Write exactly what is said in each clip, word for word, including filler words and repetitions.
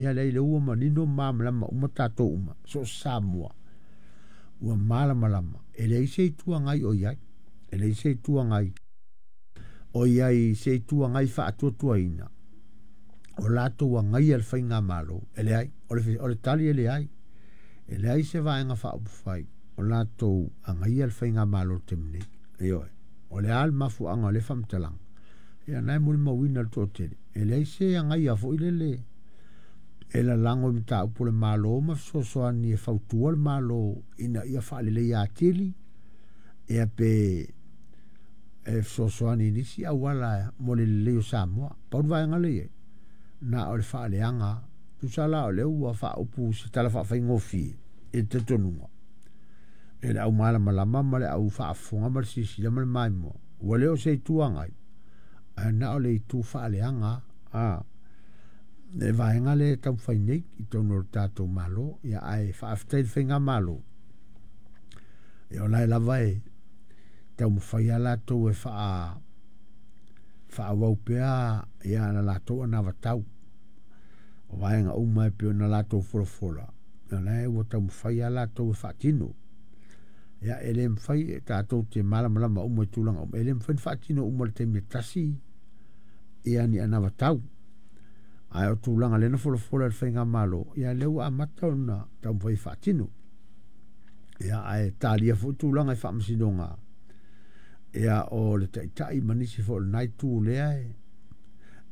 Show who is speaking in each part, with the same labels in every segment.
Speaker 1: Ia leai, lea ua manino ma malamalama uma tatou uma, so o se Samoa ua malamalama, e leai se Itu Agai o i ai, e leai se Itu Agai o i ai, se Itu Agai faatuatuaina o latou agaia le faigamalo. E leai, o le, o le tali e leai. E leai se Vaega Faaupufai o latou agaia le faigamalo i le taimi nei. Ioe. O le a le mafuaaga o lea faamatalaga? Ia na e molimauina le toatele, e leai se agaia foi lele e lalago i mataupu o le Malo ma fesoasoani e fautua le Malo ina ia faaleleia atili, ia pe e fesoasoani i nisi auala mo le lelei o Samoa. Pau le vaega lea e i ai, na o le faaleaga. Tusa la o lea ua faaupu se tala faafaigofie i le talitonuga e le au malamalama ma le au faafofoga ma le silasila ma le maimoa, ua le o se Itu Agai, ae na o le itu faaleaga a le vaega lea e taumafai nei i totonu o le tatou Malo. Ia ae faafetai i le faigamalo, ia o la e lava e taumafai lava latou e faa faaauau pea ia na latou anavatau o vaega uma e pei ona latou folafola, o la e ua taumafai lava latou e faatino. Ia e le mafai, e tatou te malamalama uma i tulaga uma, e le mafai ona faatino uma i le taimi e tasi ia ni anavatau. Ae o tulaga lea na folafola e le faigamalo, ia lea ua amata ona taumafai e faatino. Ia ae talia foi tulaga i faamasinoga, ia o le Taitai ma nisi foi o lena itu lea e,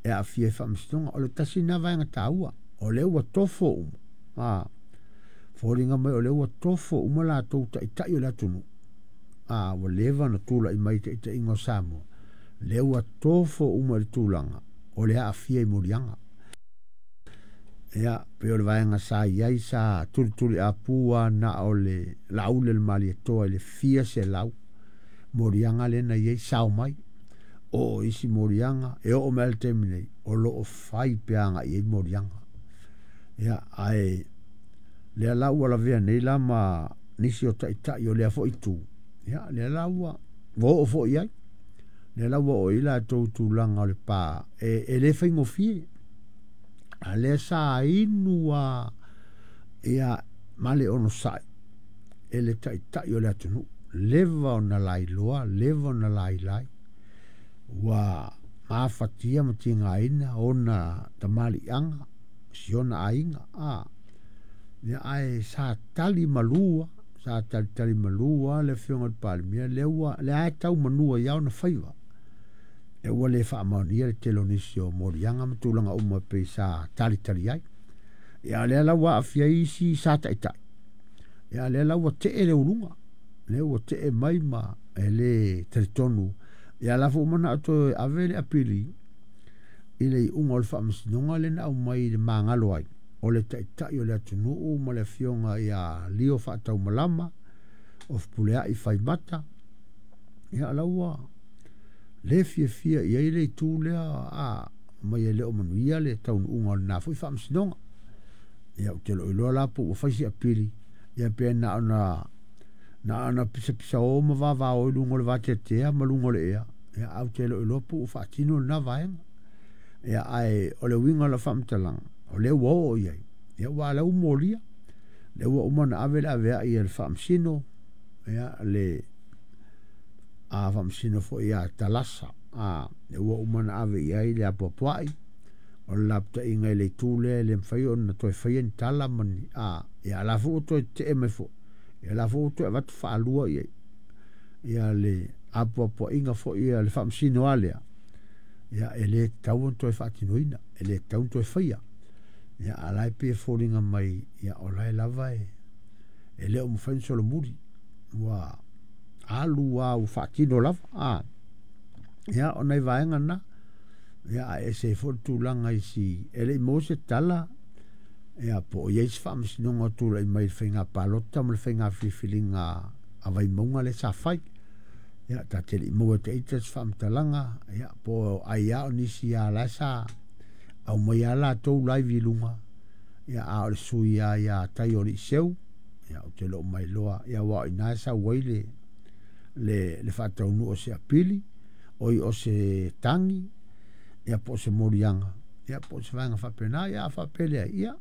Speaker 1: e aafia i faamasinoga. O le tasi lena vaega taua, o lea ua tofo uma, a, foliga mai o lea ua tofo uma latou taitai o le atunuu, a, ua leva ona tulai mai i taitaiga o Samoa, lea ua tofo uma i le tulaga o le aafia i moliaga. Ia, pei o le vaega sa i ai sa tulituliapu lava na o le Laauli a le Malietoa i le fia selau moliaga lea na i ai sao mai. O isi moliaga, e oo mai lava i le taimi nei, o lo o fai pea agai i ai moliaga. Ia, ae lea la ua lavea nei la ma nisi o taitai o lea foi itu, ia, lea la ua ua oo foi i ai. Lea la ua oo i ai latou tulaga o le pa, e, e le faigofie. A lea sa inu lava ia ma le onosai e le taitai o le atunuu. Leva ona lailoa, leva ona lailai, ua mafatia ma tigaina ona tamaliiaga, si ona aiga. A, ia, ae sa tali malu lava, sa talitali malu lava le afioga i le Palemia, lea ua lea e tau manu ai lava ona faiva. E ua le faamaonia le tele o nisi o moliaga ma tulaga uma pei sa talitali ai. Ia lea la ua aafia ai isi sa taitai. Ia lea la ua tee le uluga, lea ua tee mai ma e le talitonu. Ia la foi ua manao toe ave le apili i le iuga o le faamasinoga lea na aumai i le magalo ai o le taitai o le atunuu ma le afioga ia Lio Faataumalama o Fepuleai Faimata. Ia la ua le fiafia i ai le itu lea, a mai e le o manuia le taunuuga o lena foi faamasinoga. Ia ou te le o iloa la po ua fai se apili, ia pe na ona na ona pisapisao ma vavao i luga o le vateatea ma luga o le ea, ia ae ou te le o iloa po ua faatino lena vaega. Ia ae o le uiga o lau faamatalaga, o lea ua oo i ai, ia ua lea ua molia, lea ua uma ona ave le aveai a le faamasino, ia le a faamasino foi ia Talasa, a lea ua uma ona ave i ai le apoapoai, o le lapataiga i le itu lea e le mafai ona toe faia ni tala ma ni, a, ia la foi ua toe tetee mai foi, ia la foi ua toe avatu faalua i ai, ia le apoapoaiga foi a le faamasino lava lea, ia e le tatau ona toe faatinoina, e le tatau ona toe faia. Ia a o la e pei e foliga mai, ia o la e lava e, e le o mafai ona solomuli, ua alu lava ua faatino lava. A, ia o nai vaega na, ia ae ese ai foi le tulaga i si, e le i maua se tala, ia po o i ai se faamasinoga o tulai mai i le faiga palota ma le faiga filifiliga a Vaimauga lea sa fai. Ia ta te le i maua e ita se faamatalaga, ia po o ai lava o nisi lava la sa aumai lava latou live i luga, ia a o le sui lava ia Taioliiseu, ia ou te le o mailoa, ia aua o i ina e sau ai le, le, le faataunuu o se apili, oi o se tagi, ia po o se moliaga, ia po o se vaega faapena, ia a faapea e leai, ia